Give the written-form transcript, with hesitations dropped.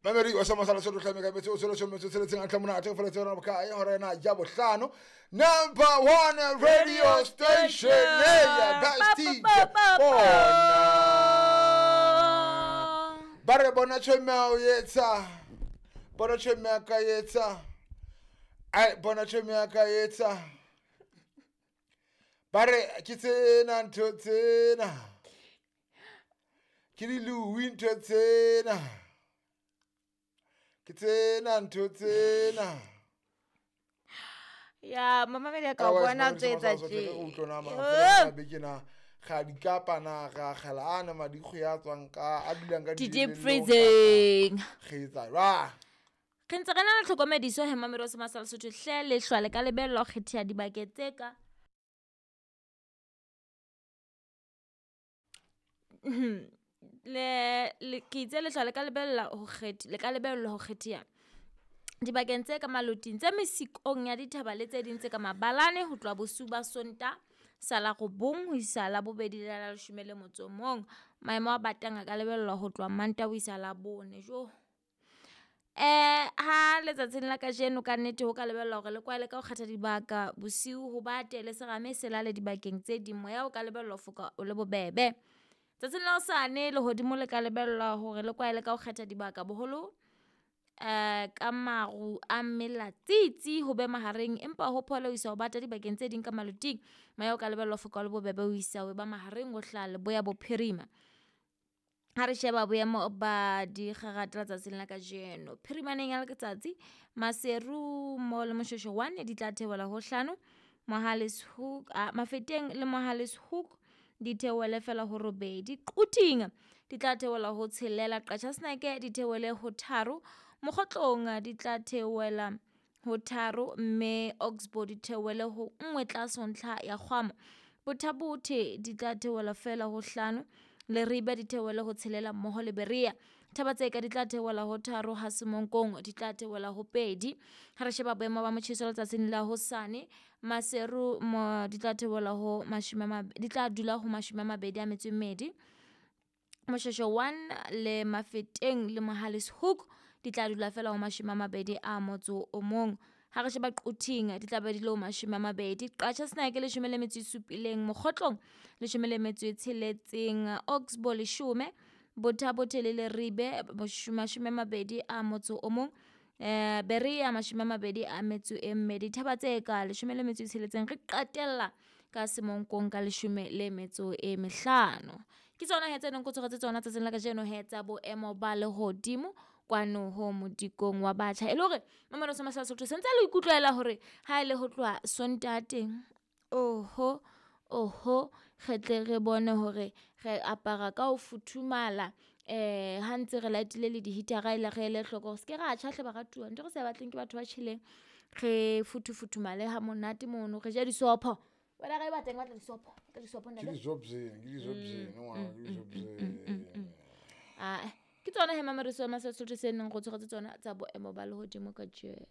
Mamedi wa sama sa Lesotho hlame ka metse o tswele tshome tse tseletseng a tlamona a tefela tsena boka e hora ena ya bohlano. Number 1 radio station ya best DJ. Bona. Ba re bona tshome o yetsa. Bona tshome ka yetsa. Ai bona tshome ka yetsa. Ba re ke tsena ntho tsena. Ke di lui ntho tsena. Ke tsena ntho tsena. Ya mamamedi a ka bona tse etsa tje. Beke na ga di kapa na ga gela ana madikgo ya tswang ka a dulang ka DJ Freezing. Ge etsa ra. Re ntse re na le tlhokomediso he mamedi wa Sema sa Lesotho hle lehlwa le ka lebellwa ho kgetheha dibakeng tse ka le ke itse lehlwa le ka lebella ho kgetha le ka lebellwa ho kgetheha dibakeng tse ka maloting tse mesikong ya dithaba le tse ding tse ka mabalane ho tloha bosiu ba Sontaha sa la 9 ho isa la bobedi la la 11. Maemo a batang a ka lebellwa ho tloha Mantaha ho isa la 4. Jo. Ha letsatsing la kajeno ka nnete ho ka lebellwa hore le kwaele ka ho kgetha dibaka bosiu ho bate le serame se lale dibakeng tse ding. Moya o ka lebellwa ho foka o le bobebe. Tsatsing la hosane lehodimo le ka lebellwa hore le kwaele ka ho kgetha dibaka boholo ka maru a melatsitsi ho be mahareng empa ho phole ho isa ho bata dibakeng tse ding ka maloting. Moya o ka lebellwa ho foka o le bobebe ho isa ho ba mahareng ho hlaha leboya bophirima. Ha re sheba boemo ba dikgarata letsatsing la kajeno, phirimaneng ya letsatsi Maseru mo le Moshweshwe 1 di tla theohela ho 5, Mohale's Hoek Mafeteng le Mohale's Hoek di theohele fela ho 8, Quthing di tla theohela ho 6, Qacha's Nek di theohele ho 3, Mokgotlong di tla theohela ho 3, mme Oxbow di theohele ho 1 tlase ho ntlha ya kgwamo. Botha-Bothe di tla theohela fela ho 5, Leribe di theohele ho 6 mmoho le Berea. Thaba-Tseka di tla theohela ho 3, ha Semonkong di tla theohela ho 2. Ha re sheba boemo ba motjheso letsatsing la hosane, Maseru mo di tla theohela ho di tla dula ho 22. Moshweshwe 1 le Mafeteng le Mohale's Hoek di tla dula fela ho 21. Ha re sheba Quthing di tla be di le ho 20. Qacha's Nek 17, Mokgotlong 16, Oxbow 10, Botha-Bothe le Leribe 21, Berea 22, Thaba-Tseka 16. Re qetella ka Semonkong ka 15. Ke tsona he tse neng ko tshwaretse tsona tsatsing la kajeno he tsa boemo ba lehodimo kwano ho modikong wa batjha. E le hore mamelo sa Masala Sotho sentse le ikutlwela hore ha ele ho tloha Sontaha teng, oho oho re tle re bone hore re apara ka ho futhumala, ha ntse re latile le di-heater-a ele re ele hloko hore se ke ra tjha hle baratuwa. Ntho re sa batleng ke batho ba tjheleng, re futhufuthumale ha monate mono, re je disopho. Wena re batla batla disopho, batla disopho Ke disobzeni, ke disobzeni, ngwana, ke disobzeni. Ah, ke tsona he mamelo sa Masala Sotho se neng go tshwaretse tsona tsa boemo ba lehodimo kajeno.